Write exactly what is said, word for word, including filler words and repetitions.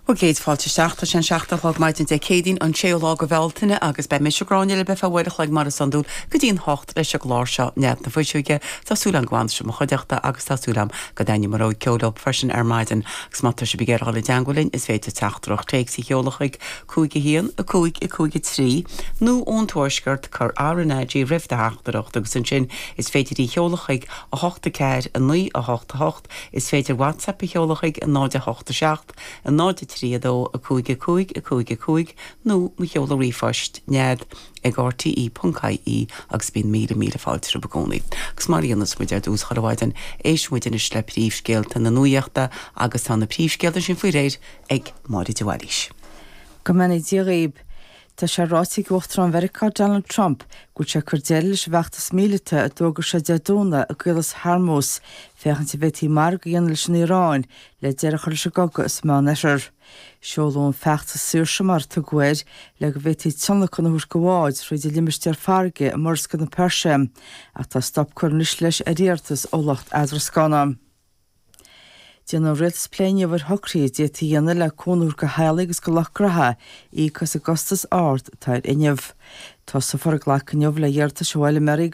Bhuel céad fáilte isteach tá sé an seacht a chlog maidin Dé Céadaoin an séú lá de Bhealtaine agus beidh mise Gráinne libh ar feadh uair a chloig mar is iondúil go dtí an hocht leis an gclár seo Nead na Fuiseoige. Tá súil agam go bhfanfaidh sibh i mo chuideachta agus tá súil agam go dtaitneoidh mo rogha ceoil libh freisin ar maidin agus má tá sibh ag iarraidh dul i dteagmháil linn is féidir teachtaireacht téacs a sheoladh chuig cúig a haon a cúig a cúig a trí nó ón tuaisceart cuir RnaG roimh do theachtaireacht agus ansin is féidir í sheoladh chuig a hocht a ceathair a naoi a hocht a hocht is féidir WhatsApp a sheoladh chuig a náid a hocht a seacht a náid a trí a dó a cúig a cúig a cúig a cúig nó mo sheoladh ríomhphoist nead ag RTE.ie agus bíonn míle míle fáilte romhaibh i gcónaí. Agus mar a dhéanas muid ar dtús chuile mhaidin éistfidh muid anois le príomhscéalta na nuachta agus tá na príomhscéalta sin faoi réir ag Máire de Bhailís. Go mbeannaí Dia dhaoibh. Tá sé ráite ag Uachtarán Mheiriceá Donald Trump go bhfuil sé ag cur deireadh leis an bhfeachtas míleata a d'fhógair sé Dé Domhnaigh i gCaolas Hormuz, féachaint an bhféadfaí margadh a dhéanamh leis an Iaráin le deireadh a chur leis an gcogadh sa Meánoirthear. Seoladh an feachtas saoirse mar a tugadh air le go bhféadfaí tionlacan a thabhairt do bháid thríd an limistéar farraige i Murascaill na Peirse, ach tá stop curtha anois leis ar iarratas ó lucht eadrascána. Déanann an rialtas plé inniu ar shocruithe a d'fhéadfaí a dhéanamh le cúnamh a thabhairt do theaghlaigh agus do lucht gnótha íoc as an gcostas ard atá ar fhuinneamh. Tosófar ag glacadh inniu le hiarratais ó fheilméaraí